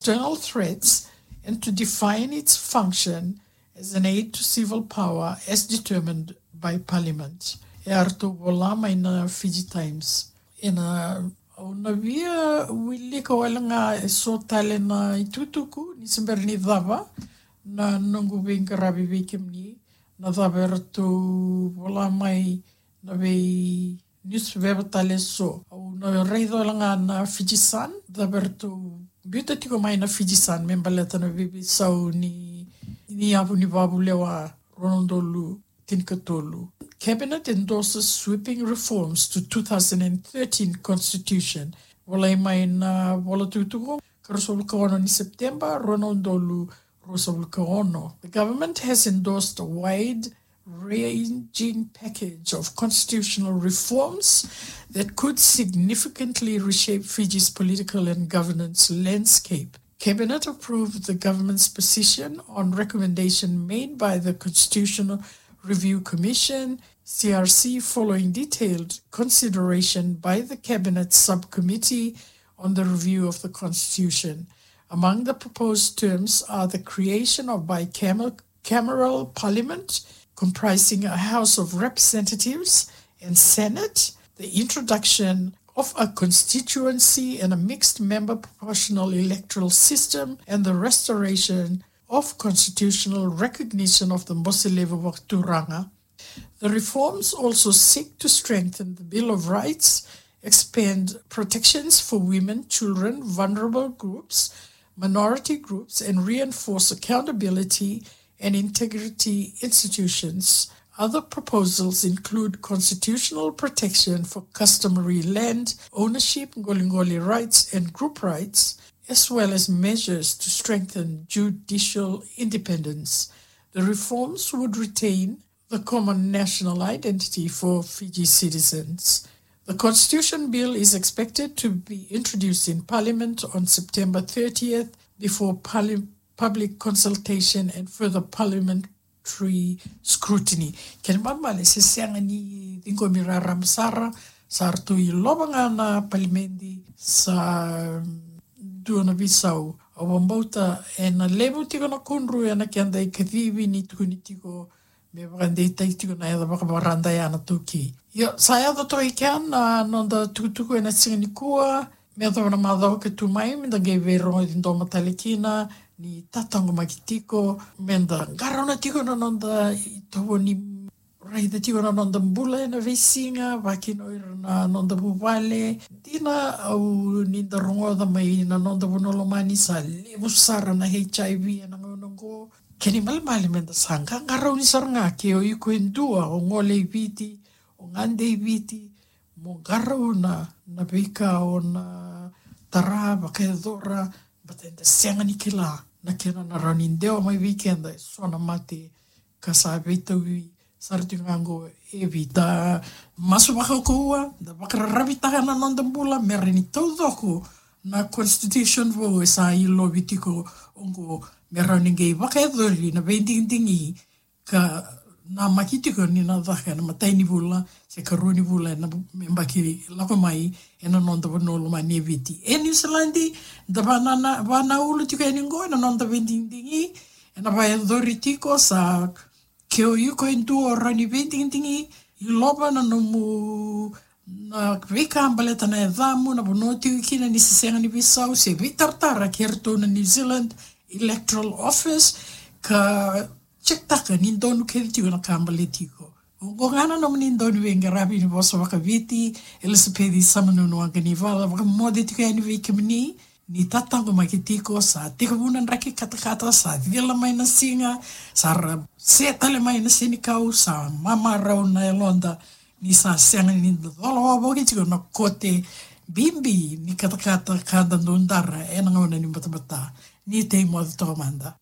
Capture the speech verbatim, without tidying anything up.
external threats and to define its function as an aid to civil power as determined by Parliament. E a ratou vola mai na Fiji Times. Ena, au na via wilika wale ga eso tale na itukutuku ni se bera ni cava na noqu veiqaravi vei kemuni, na cava e ratou vola mai na vei newspaper tale eso. Au na raica wale ga na Fiji Sun, cava e ratou biuta tiko mai na Fiji Sun me baleta na veiveisau ni, ni yavu ni vavu lewa rua na udolu tinikatolu. Cabinet endorses sweeping reforms to two thousand and thirteen constitution. Volai mai na vola tukutuku, ka ruasagavulu ka ono ni September, rua na udolu ruasagavulu ka ono. The government has endorsed a wide ranging package of constitutional reforms that could significantly reshape Fiji's political and governance landscape. Cabinet approved the government's position on recommendation made by the Constitutional Review Commission, C R C, following detailed consideration by the Cabinet Subcommittee on the Review of the Constitution. Among the proposed terms are the creation of bicameral parliament comprising a House of Representatives and Senate, the introduction of a constituency and a mixed member proportional electoral system, and the restoration of constitutional recognition of the Bose Levu Vakaturaga. The reforms also seek to strengthen the Bill of Rights, expand protections for women, children, vulnerable groups, minority groups, and reinforce accountability and integrity institutions. Other proposals include constitutional protection for customary land ownership, qoliqoli rights, and group rights, as well as measures to strengthen judicial independence. The reforms would retain the common national identity for Fiji citizens. The Constitution Bill is expected to be introduced in Parliament on September thirtieth before parli-, public consultation and further parliamentary scrutiny. Kena ibalebale se sega ni ciqomi raraba sara, sa ratou ilova ga na palimedi, sa dua na veisau. Au vakabauta ena levu tiko na kudru ena keda ikacivi ni tukuni tiko me vakadeitaki tiko na yaca vakavakarada ya na iTaukei. Io, sa yaco toka i kea na noda tukutuku ena siga nikua. Me yacova na macawa ka tu mai, meda qai veirogoci domo tale kina, ni tataqomaki tiko, meda qarauna tiko na noda itovo ni raica tiko na noda bula ena veisiga, vakakina o ira na noda vuvale. Dina au ni da rogoca mai na noda vanua lomani sa levu sara na H I V ena gauna oqo. Kena ibalebale meda sa qaqarauni sara ga ke o iko e dua, o gole i Viti, o gade i Viti, mo qarauna na veika o na tara, vakayacora, baleta eda sega ni kila na kena na rawa ni dewa mai vei keda eso na mate ka sa veitauvi sara tiko ga oqo e Viti. Da masu vakaukauwa, da vakararavitaka na noda bula me rawa ni taucoko na constitution vou e sa ilovi tiko oqo, me rawa ni qai vakayacori na veidigidigi ka namaki tiko ni na caka ena imatai ni vula se ikarua ni vula ena yabaki lako mai ena noda vanua lomani e Viti. E Niusiladi, da vana, vanaulu tiko yani oqo ena noda veidigidigi, ena vakayacori tiko sa ke o iko e dua o rawa ni veidigidigi, ilova na nomu, na veika baleta na yacamu, na vanua o tiko kina, ni se sega ni veisau se veitaratara kei iratou na New Zealand Electoral Office, ka check-taka ni donu kece tiko na ka baleti iko. Oqo ga na nomuni dauniveiqaravi ni vosa vakaViti, Elisapeci Samanunu Waqanivala, vakamoce tiko yani vei kemuni, ni tataqomaki tiko, sa tekivu na draki katakata, sa cila mai na siga, sa ra se tale mai na senikau, sa mamarau na yaloda, ni sa sega ni cola wavoki tiko na kote bibi ni katakata ka da dau dara ena gauna ni batabata. Ni tei moce toka mada.